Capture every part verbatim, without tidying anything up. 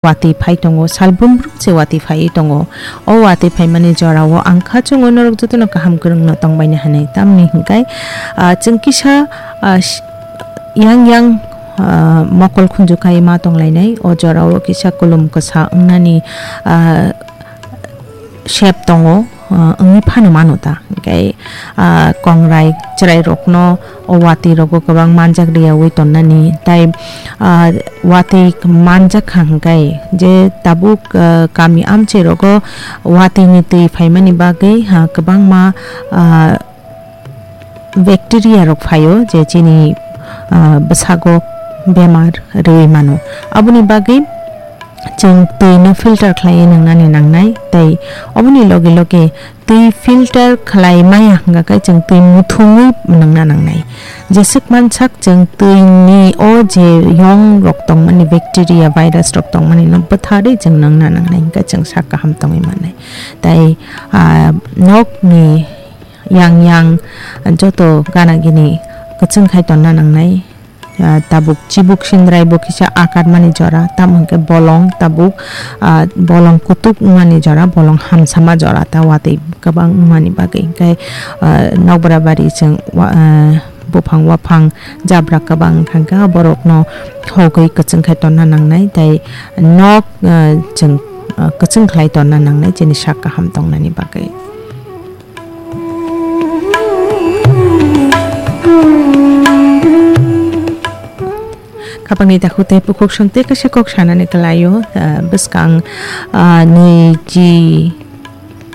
watwi phai tongo, sal brum brum se watwi phaiwi tongo. O watwi phaimani jorao ang kha chwngo norok jotono kaham kwrwngno tongbaini hinwi. Tamni hwnkhe, ah, chwng kisa, ah, s-, yang yang, ah, mokol khunju kai ma tonglainai. O jorao kisa kulum kwsa wngnani, ah, sep tongo, ah, wngwi phano mano ta. Hwnkhe, ah, kongrai chwrairokno o watwi rogo kwbang manjak riyaui tonnani, tai, ah, watwi manjak kha hwnkhe je tabuk, ah, kami amchai rogo watwini twi phaimani bagwi, ha, kwbangma, ah, bacteria rok phaio, je chini, ah, bwsago bemar rwui mano. Aboni bagwi chwng twi no filter khlaiwi nwngnani nangnai, tei oboni loge loge twi filter khlai maya hwnkha khe chwng twi muthungwi nwngna nangnai. Jeswk mansak chwng twi ni o je yong rok tongmani, bacteria, virus rok tongmani no bwtharwi chwng nwngna nangnai, hwnkhe chwng sak kaham tongwi mannai. Tai, ah, nok ni yang yang joto gana gini kwchwng khai tonna nangnai. Ah, tabuk chibuk sindrai bo kisa akar mani jora, tamo hwnkhe bolong tabuk, ah, bolong kutuk wngmani jora, bolong hamsama jora, ta watwi kwbang wngmani bagwi hwnkhe, ah, nokbra bari chwng wa-, ah, buphang waphang jabra kwbang wngkha hwnkhe borokno hogwi kwchwng khai tonna nangnai, tai nok, ah, chwng, ah, kwchwng khlai tonna nangnai chini sak kaham tongnani bagwi. Khapangni takhuk tei bukhuk song tei kaisa kok sanani kwlaio, ah, bwskang, ah, nwi chi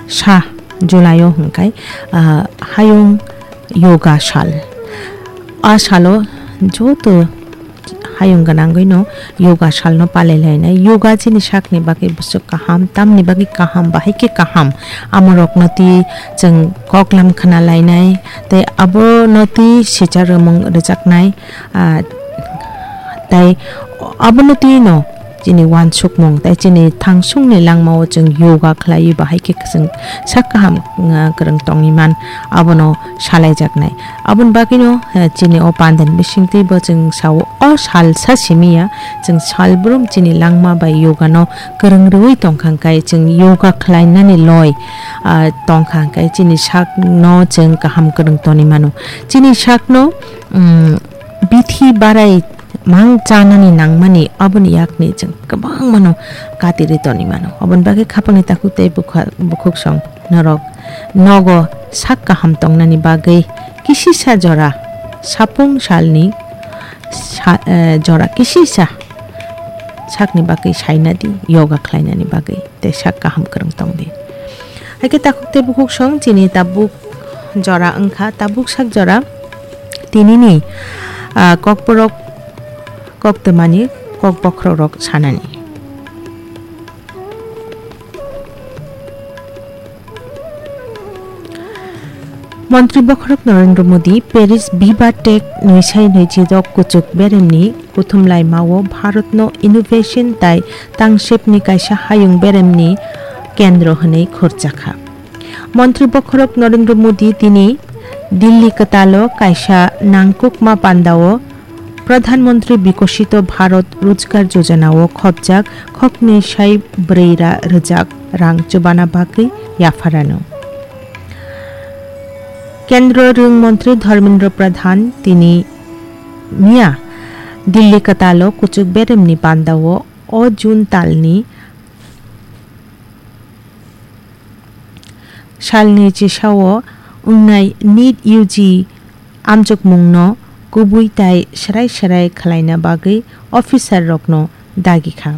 sa July o hwnkhe, ah, hayung yoga sal. A salo joto hayung gwnangwino yoga salno palai lainai. Yoga chini sakni bagwi bwswk kaham, tamni bagwi kaham, bahai khe kaham. Amorokno twi chwng koklam khna lainai, tei abono twi sicha rwmung rwjaknai, ah, tei abono twino chini uansukmung tei chini thangsungni langmao chwng yoga khlaiwi bahai khe chwng sak kaham, ah, kwrwng tongwi man, abono salaijaknai. Aboni bagwino, eh, chini o pandani bisingtwi bo chwng sao, o salsa simi ya, chwng salbrum chini langma bai yoga no kwrwng rwui tongkha hwnkhe chwng yoga khlainani loi, ah, tongkha hwnkhe chini sakno chwng kaham kwrwng toni mano. Chini sakno, um, bithi barai mang chanani nangmani aboni yakni chwng kwbangmano katirwi toni mano. Aboni bagwi khapangni takhuk tei bukha-, bukhuk song norok nogo sak kaham tongnani bagwi kisisa jora sapung salni sa-, eh, jora kisisa sakni bagwi saina di yoga khlainani bagwi tei sak kaham kwrwng tong di. Hai khe takhuk tei bukhuk song chini tabuk jora wngkha, tabuk sak jora tinini, ah, kokborok koktwmani kok bokhorok sanani. Montri bokhorok Narendra Modi Paris Viva Tech nwi sai nwi chi dok kuchuk beremni kuthum laimao Bharatno innovation tai tangsepni kaisa hayung beremni kendro hwnwi khorjakha. Montri bokhorok Narendra Modi tini Delhi kwtalo kaisa nangkukma pandao Pradhan Mantri Bikosito Bharat Rojgar Yojana o khopjak khoknwi sai brwi ra rwjak rang chubana bagwi yapharano. Kendro rwng montri Dharmendra Pradhan tini miya Delhi kwtalo kuchuk beremni pandao o June talni salni chisao wngnai NEET U G amjokmungno kubui tai swrai swrai khwlaina bagwi officer rokno dagi kha.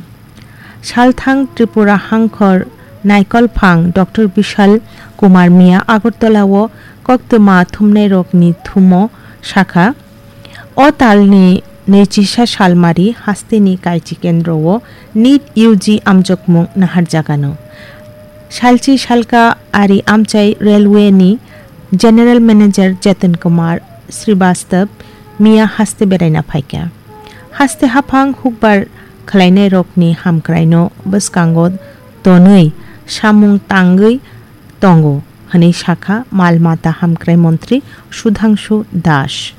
Salthang Tripura hangkhor naikolphang Doctor Bishal Kumar Miya Agartala o koktwma thumnairokni thumo sakha, o talni nwichisa salmari hasteni kaichi kendro o NEET U G amjokmung naharjagano. Salchi salka ari amchai railway ni General Manager Jatan Kumar Srivastav miya haste beraina phaikha. Haste haphang hukbar khwlainairokni hamkraino bwskango tonwi samung tangwi tongo hwnwi sakha mal mata hamkrai montri Sudhangshu Das.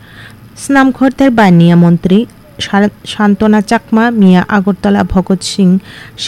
Snamkhor tei baniya montri Santona Chakma miya Agartala Bhagat Singh